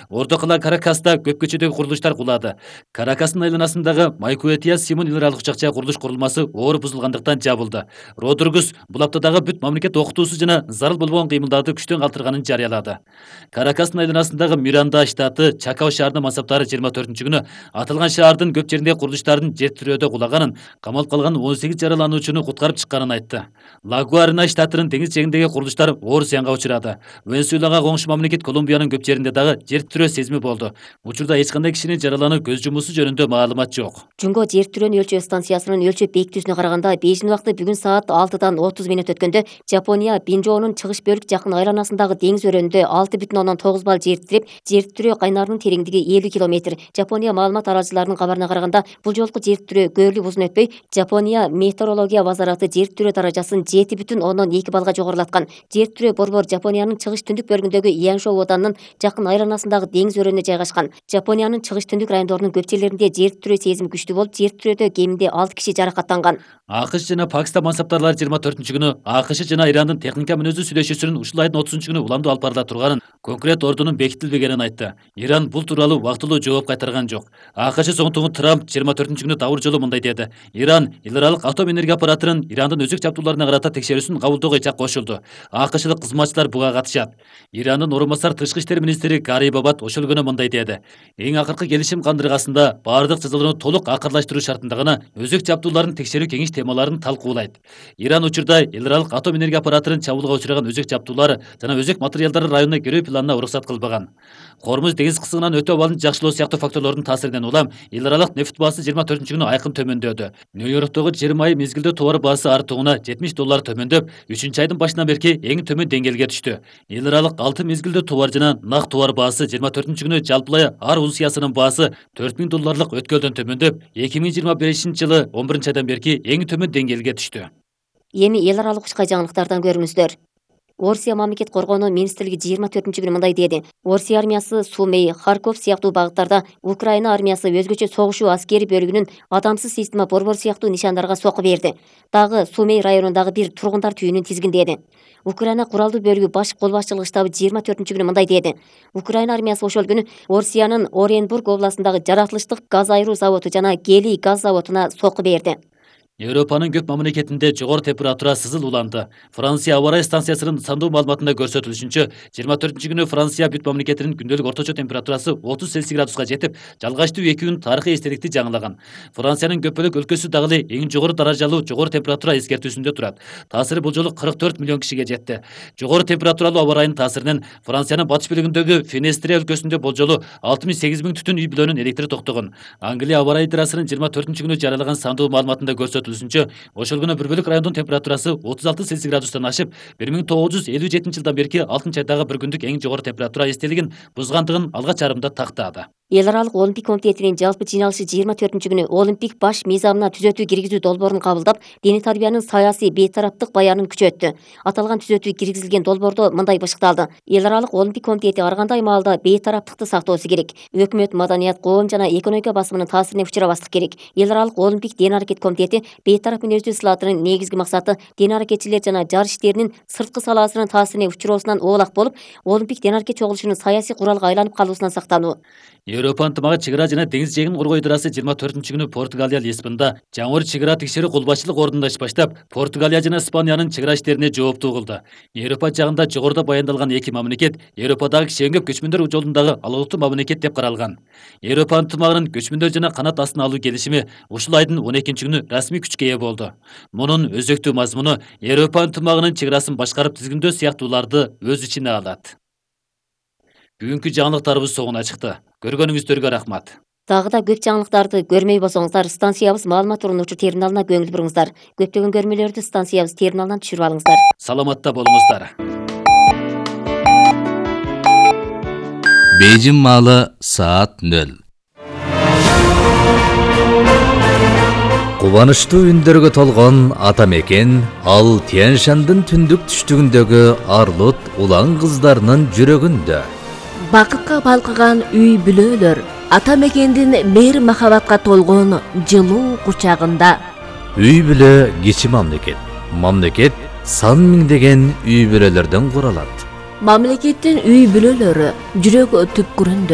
Орто кала Каракаста көп көчөдөгү курулуштар кулады. Каракастын айланасындагы Майкуэтия Симон эл аралык учакча курулуш курулмасы оор бузулгандыктан жабылды. Родургус бул аптадагы бүт мамлекет окутуусу жана зарыл болбогон кыймылдарды күчтөн калтырганын жарыялады. Каракастын айланасындагы Миранда штаты Чакао шаарынын мансаптары 24-күнү аталган шаардын көп жеринде курулуштардын жер тирөөдө кулаганын, камалып калган 18 жаралануучуну куткарып чыкканын айтты. Лагуарина штатынын деңиз жээгиндеги курулуштар оор зыянга учурады. Венесуэлага коңшу мамлекет Колумбиянын көп жеринде дагы жер тирөө сезими болду. Учурда эч кандай кишинин жараланып көз жумуусу жөнүндө маалымат жок. Жунго жер тирөөнү өлчөө станциясынын өлчөп бекитүүсүнө караганда Бейжин убакыты бүгүн саат 6-дан 30 мүнөт өткөндө Жапония Бинжоонун чыгыш бөлүк жакын айланасындагы деңиз өрөөнүндө 6,9 балл жер тирип, жер тирөө кайнарынын тереңдиги 50 километр. Жапония маалымат аралчыларынын кабарына караганда, бул жолку жер тирөө көрүлүп узун өтпөй, Жапония метеорология базараты жер тирөө даражасын 7,2 баллга жогорулаткан. Жер тирөө борбор Жапониянын чыгыш түндүк бөлүгүндөгү Яншо оданынын жакын айланасындагы деңиз өрөөнүнө жайгашкан. Жапониянын чыгыш түндүк райондорунун көп жерлеринде жер тирөө сезими күчтүү болуп, жер тирөөдө кеминде 6 киши жаракаттанган. АКШ жана Пакистан мансаптарлары 24-күнү АКШ жана Ирандын техника мүнөздүү сүйлөшүүсүнүн ушул айдын 30-күнү уламдуу алып барыла турганын, конкрет ордунун бекитилбегенин айтты. Иран бул тууралуу убактылуу жооп кайтарган жок. АКШ соңтугу Трамп 24-күнү дабыр жолу мындай деди. Иран эл аралык атом энергия аппаратынын Ирандын өзөк чаптууларына карата текшерүүсүн кабылдоого ичак кошулду. АКШлык кызматчылар буга катышат. Ирандын орун басар тышкы иштер министри Гари Бабат ошол күнү мындай деди. Эң акыркы келишим кандыргасында баардык жазалоону толук акырлаштыруу шартында гана өзөк чаптууларын текшерүү кеңеш темаларын талкуулайт. Иран учурда эл аралык атом энергия аппаратынын чабуулга учураган өзөк чаптуулары жана өзөк материалдары районуна кирүү планына уруксат кылбаган. Кормуз деңиз кысымынан өтө абалын жакшылоо сыяктуу факторлордун таасиринен улам эл аралык нефть баасы 24-күнү айкын төмөндөдү. Нью-Йорктогу 20 ай мезгилде товар баасы артугуна $70 төмөндөп, 3-айдын башынан берки эң төмөн деңгээлге түштү. Эл аралык 6 мезгилде товар жана нак товар баасы 24-күнү жалпылай ар унциясынын баасы $4000 өткөлдөн төмөндөп, 2025-жылы 11-айдан берки эң төмөн деңгээлге түштү. Эми эл аралык учка жаңылыктардан көрүңүздөр. Орусия мамлекет коргонуу министрлиги 24-күнү мындай деди. Орусия армиясы Сумей, Харьков сыяктуу багыттарда Украина армиясы өзгөчө согушуу аскери бөлүгүнүн адамсыз система борбор сыяктуу нишандарга сокку берди. Дагы Сумей районундагы бир тургундар түйүнүн тизгиндеди. Украина куралдуу бөлүгү баш кол башчылык штабы 24-күнү мындай деди. Украина армиясы ошол күнү Орусиянын Оренбург областындагы жаратылыштык газ айыруу заводу жана Гелий газ заводуна сокку берди. Европанын көп мамлекетинде жогору температура сызыл уланды. Франция аба ырайы станциясынын сандуу маалыматында көрсөтүлүшүнчө, 24-күнү Франция бүт мамлекетинин күндөлүк орточо температурасы 30 Цельсий градуска жетип, жалгачтуу 2 күн тарыхый эстеликти жаңылаган. Франциянын көп бөлүк өлкөсү дагы эң жогору даражалуу жогору температура эскертүүсүндө турат. Таасиры бул жолу 44 миллион кишиге жетти. Жогору температуралуу аба ырайынын таасиринен Франциянын батыш бөлүгүндөгү Фенестрия өлкөсүндө болжолу 6-8 түтүн үй бүлөнүн электри токтогон. Англия аба ырайы идарасынын 24-күнү жарыялаган сандуу маалыматында ошол күнү бір бөлүк райондун температурасы 36 Цельсий градустан ашып, 1957-жылдан берки 6-айдагы бір күндүк эң жогору температура эстелигин бузгандыгын алгач арымда тактады. Эл аралык Олимпик комитетинин жалпы жыйналышы 24-күнү Олимпик баш мыйзамына түзөтүү киргизүү долбоорун кабылдап, диний тарбиянын саясий бейтараптык баянын күчөттү. Аталган түзөтүү киргизилген долбоордо мындай башыкталды. Эл аралык Олимпик комитети ар кандай маалда бейтараптыкты сактоосу керек. Өкмөт, маданият, коом жана экономика басымынын таасирине учурабастык керек. Эл аралык Олимпик ден аракет комитети бейтарап мүнөздүү сылаатынын негизги максаты ден аракетчилер жана жарыш иштеринин сырткы салаасынын таасирине учуроосунан оолак болуп, Олимпик ден аракет чогулушунун саясий куралга айланып калуусунан сактануу. Европа ынтымагы чыгара жана деңиз жээгин коргоо идарасы 24-күнү Португалия Лисбонда жаңыр чыгара текшерүү кол башчылык ордунда иш баштап, Португалия жана Испаниянын чыгара иштерине жооптуу кылды. Европа жагында жогоруда баяндалган эки мамлекет Европадагы киши өңгөп көчмөндөр жолундагы алгылыктуу мамлекет деп каралган. Европа ынтымагынын көчмөндөр жана канат астына алуу келишими ушул айдын 12-күнү расмий күчкө ээ болду. Мунун өзөктүү мазмуну Европа ынтымагынын чыгарасын башкарып тизгиндөө сыяктууларды өз ичине алат. Бүгүнкү жаңылыктарыбыз соңуна чыкты. Көргөнүңүздөргө рахмат. Дагы да көп жаңылыктарды көрмөй болсоңуздар, станциябыз маалымат уруунучу терминалына көңүл буруңуздар. Көптөгөн көрмөлөрдү станциябыз терминалынан түшүрүп алыңыздар. Саламатта болуңуздар. Бейжин маалы саат 0. Кубанычтуу үндөргө толгон ата мекен ал Тянь-Шандын түндүк түштүгүндөгү арлут улан кыздарынын жүрөгүндө. Бакытка балкыган үй бүлөлөр ата мекендин мейир махабатка толгон жылуу кучагында. Үй бүлө кичи мамлекет. Мамлекет сан миңдеген үй бүлөлөрдөн куралат. Мамлекеттин үй бүлөлөрү жүрөк түпкүрүндө.